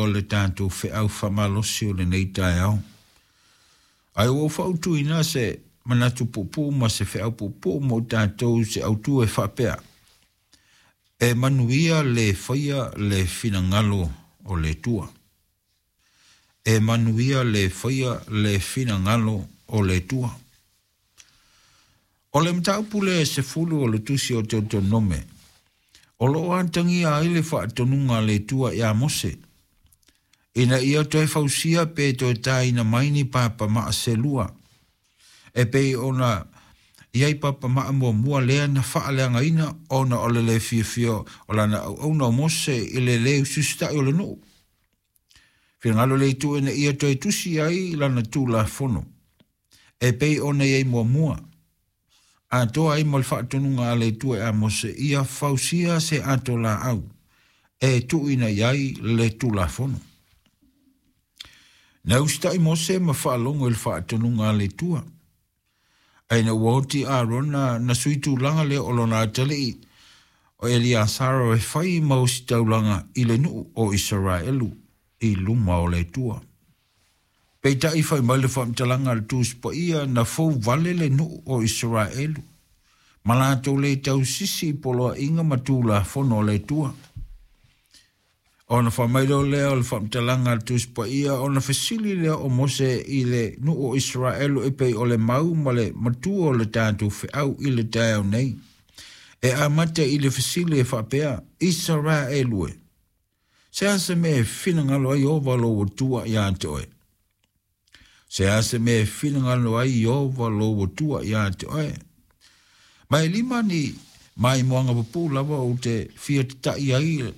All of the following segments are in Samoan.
le tatou feau faamalosi o lenei taeao. Ae ua ou fautuina se manatu puupuu ma se feau puupuu mo tatou se autu e faapea, E manuia le faia le finagalo o le Atua. E manuia le faia le finagalo o le Atua. O le mataupu lea e 10 o le tusi o Teutonome, o lo o atagia ai le faatonuga a le Atua ia Mose, ina ia toe fausia pe toe tāina mai ni papamaa se lua, e pei ona i ai papamaa muamua lea na faaleagaina ona o le le fiafia o lana auauna o Mose i le le usiusita'i o le nuu. Finagalo le Atua ina ia toe tusi ai lana Tulafono, e pei ona i ai muamua, atoa ai ma le faatonuga a le Atua ia Mose, ia fausia se ato laau e tuuina i ai le Tulafono. Na usitai Mose ma faalogo i le faatonuga a le Atua. Ae ina ua oti Arona na sui tulaga lea o lona atalii o Eliasara e fai ma ositaulaga i le nuu o Isaraelu i luma o le Atua. Peitai fai mai le faamatalaga a le Tusi Paia na fou vale le nuu o Isaraelu ma latou le tausisi i poloaiga ma tulafono a le Atua. Ona fai mai loa lea o le faamatalaga a le Tusi Paia, ona fesili lea o Mose i le nuu o Isaraelu e pei o le mau ma le matua o le tatou feau i le taeao nei. E amata i le fesili e faapea, Isaraelu e, se a se mea e finagalo ai Ieova lou Atua ia te oe? Se a se mea e finagalo ai Ieova lou Atua ia te oe? Ma e lima ni maimoaga pupuu lava ou te fia tata'i ai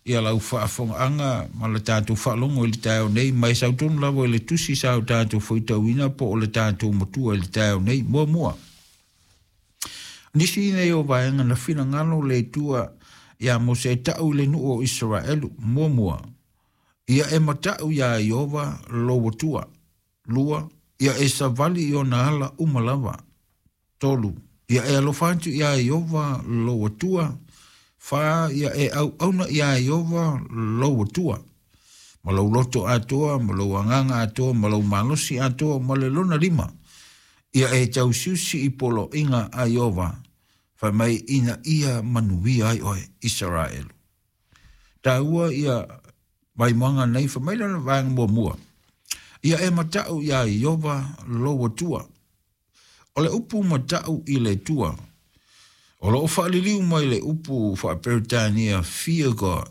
ia lau faafogaaga ma le tatou faalogo i le taeao nei, ma e sau tonu lava i le tusi sa o tatou faitauina po o le tatou matua i le taeao nei. Muamua, nisi nei o vaega na finagalo le Atua ia Mose e ta'u i le nuu o Isaraelu. Muamua, ia e mata'u iā Ieova lou Atua. Lua, ia e savali i ona ala uma lava. Tolu, ia e alofa atu iā Ieova lou Atua. Fa, ia e auauna iā Ieova lou Atua ma lou loto atoa, ma lou agaga atoa, ma lou malosi atoa, ma le lona lima, ia e tausiusi i poloaiga a Ieova, fai mai ina ia manuia ai oe, Isaraelu. Taua ia maimoaga nei, fai mai lona vaega muamua, ia e mata'u iā Ieova lou Atua. O le upu mata'u i le Atua, o lo o faaliliu mai le upu faa-Peretania fear God.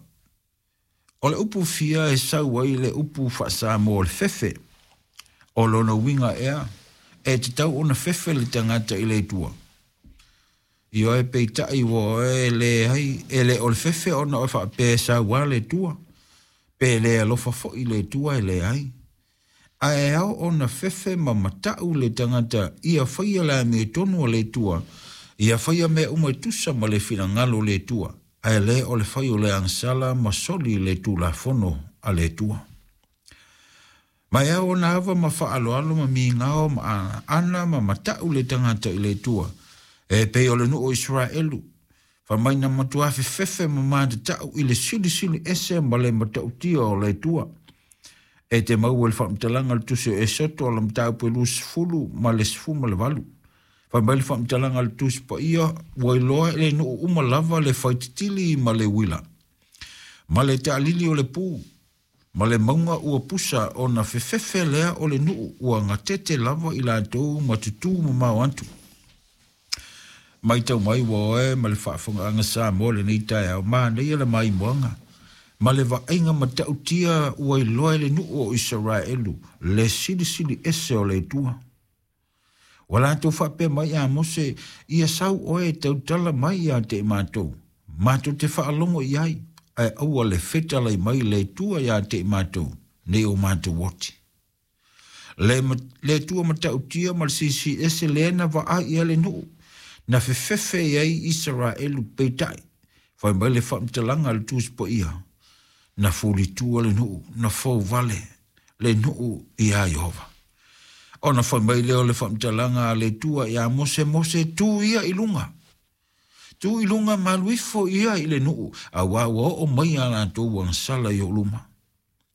O le upu fear e sau ai le upu faa-Samoa o le fefe. O lona uiga ea, e tatau ona fefe le tagata i le Atua. Ioe, peitai ua oe leai, e le o le fefe ona oe faapea e saua le Atua, pe le alofa foi le Atua e leai. Ae ao ona fefe ma mata'u le tagata ia faia le amiotonu a le Atua, ia faia mea uma e tusa ma le finagalo o le Atua, ae le o le fai o le agasala ma soli le Tulafono a le Atua. Ma e ao ona ava ma faaaloalo ma migao ma ana ma mata'u le tagata i le Atua, e pei o le nuu o Isaraelu, fai mai na matua fefefe ma matata'u i le silisili ese ma le matautia o le Atua. E te maua i le faamatalaga o le tusi o Esoto o le mataupu e 20 ma le 18. Fai mai le faamatalaga a le Tusi Paia, ua iloa e le nuu uma lava le faititili ma le uila, ma le taalili o le pu, ma le mauga ua pusa ona fefefe lea o le nuu ua gatete lava i latou ma tutū mamao atu. Matau mai ua oe ma le faafogaaga Samoa lenei taeao, manaia le maimoaga ma le vaaiga matautia ua iloa e le nuu o Isaraelu le silisili ese o le Atua. Ua latou faapea mai ia Mose, Ia sau oe e tautala mai ia te i matou, matou te faalogo i ai, ae aua le fetalai mai le Atua ia te i matou, nei o matou oti. Le, le Atua matautia ma le silisili ese lea na vaai i ai le nuu, na fefefe i ai Isaraelu, peitai, fai mai le faamatalaga a le Tusi Paia, na fulitua le nuu, na fouvale le nuu iā Ieova. Ona fai mai lea o le faamatalaga a le Atua iā Mose, Mose, tu ia i luga. Tu i luga ma alu ifo ia i le nuu, auā ua oo mai a latou agasala i ou luma.